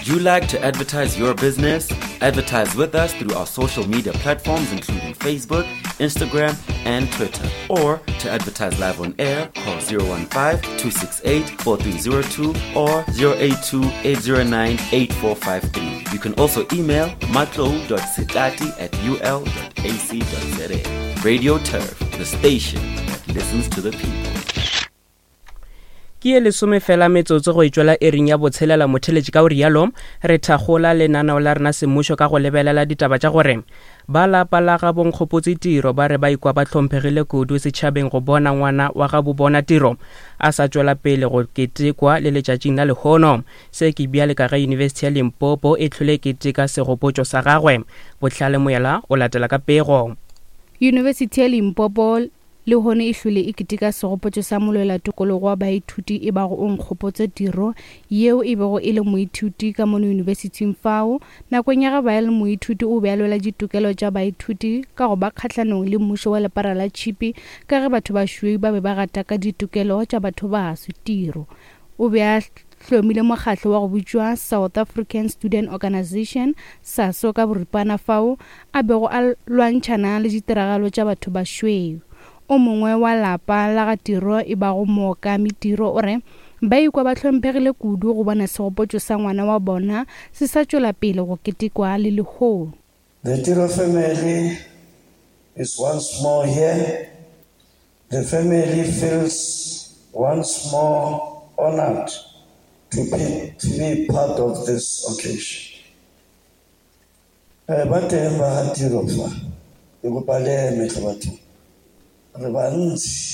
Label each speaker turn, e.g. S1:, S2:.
S1: you like to advertise your business? Advertise with us through our social media platforms, including Facebook, Instagram, and Twitter. Or to advertise live on air, call 015 268 4302 or 082 809 8453. You can also email matlo.sitati at ul.ac.za. Radio Turf, the station that listens to the people.
S2: Ke ye lesome fela metsotso go etšwela ering ya botshelela motheletši ka o rialo re thakgola lenaneo la rena semmušo ka go lebelela ditaba tša gore ba lapa la ga bonkgopotse tiro ba re ba ikwa ba hlomphegile kudu setšhabeng go bona ngwana wa ga bobona tiro a sa tšwela pele go ketekwa le letšatšing la lehono se ke bjale ka ge yunibesithi ya limpopo e hlole keteka segopotšo sa gagwe bohlale moyela o latela ka pego
S3: Yunibesithi ya Limpopo Lehono e hlwele e keteka segopotšo sa molwelatokologo wa baithuti e bago Onkgopotse Tiro, yeo e bego e le moithuti ka mono yunibesithing fao. Nakong ya ge ba le moithuti o be a lwela ditokelo tša baithuti ka go ba kgahlanong le mmušo wa lepara la tšhipi ka ge batho bašweu ba be ba gataka ditokelo tša batho baso. Tiro o be a hlomile mokgatlo wa go bitšwa South African Student Organisation, SASO, ka boripana fao a bego a lwantšhana le ditiragalo tša batho bašweu. O mongwe wa lapa la ga Tiro e bago Mookami Tiro o re ba ikwa ba hlomphegile kudu go bona segopotšo sa ngwana wa bona se sa tšwela pele go ketekwa le lehono.
S4: The Tiro family is once more here The family feels once more honored to be, to be part of this occasion. Eh, ba teng ba ga tiro fa ke kopa le eme tlhe batho re bantsi.